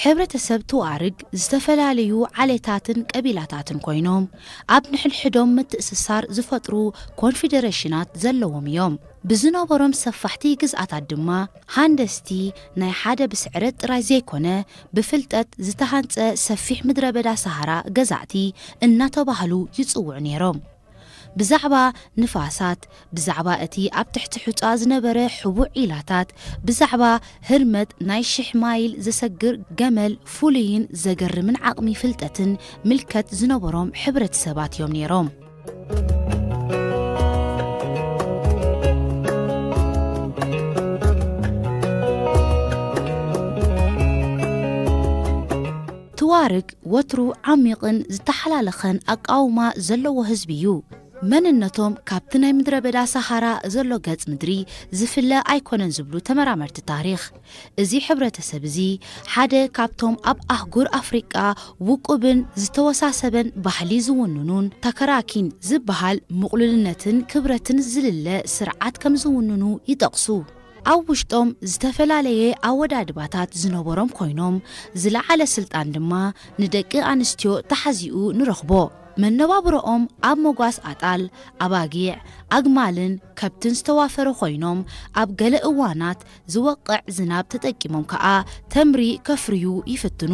ሕብረተሰብ ቱዋርግ ዝተፈላለዩ ዓሌታትን ቀቢላታትን ኮይኖም ኣብ ንሕድሕዶም ምትእስሳር ዝፈጥሩ ኮንፌደሬሽናት ዘለዎም እዮም። ብዝነበሮም ሰፋሕቲ ግዝኣታት ድማ ሃንደስቲ ናይ ሓደ ብስዕረት ጥራይ ዘይኮነ ብፍልጠት ዝተሃንጸ ሰፊሕ ምድረ በዳ ሰሃራ ገዛእቲ እናተባህሉ ይጽውዑ ነይሮም። ብዛዕባ ንፋሳት፣ ብዛዕባ እቲ ኣብ ትሕቲ ሑጻ ዝነበረ ሕቡእ ዒላታት፣ ብዛዕባ ህርመት ናይ ሽሕ ማይል ዘሰግር ገመል ፍሉይን ዘገርምን ዓቕሚ ፍልጠትን ምልከት ዝነበሮም ሕብረተሰባት እዮም ነይሮም። ትዋርግ ወትሩ ዓሚቕን ዝተሓላለኸን ኣቃውማ ዘለዎ ህዝቢ እዩ። መንነቶም ካብቲ ናይ ምድረ በዳ ሰሃራ ዘሎ ገጽ ምድሪ ዝፍለ ኣይኮነን ዝብሉ ተመራመርቲ ታሪኽ። እዚ ሕብረተሰብ እዚ ሓደ ካብቶም ኣብ ኣህጉር ኣፍሪቃ ውቁብን ዝተወሳሰበን ባህሊ ዝውንኑን ታከራኪን ዝበሃል ምቕሉልነትን ክብረትን ዝልለ ስርዓት ከም ዝውንኑ ይጠቕሱ። ኣብ ውሽጦም ዝተፈላለየ ኣወዳድባታት ዝነበሮም ኮይኖም፣ ዝለዓለ ስልጣን ድማ ንደቂ ኣንስትዮ ተሓዚኡ ንረኽቦ። መነባብሮኦም ኣብ መጓስ ኣጣል፣ ኣባጊዕ፣ ኣግማልን ከብትን ዝተዋፈረ ኮይኖም፣ ኣብ ገለ እዋናት ዝወቕዕ ዝናብ ተጠቂሞም ከኣ ተምሪ ከፍርዩ ይፍትኑ።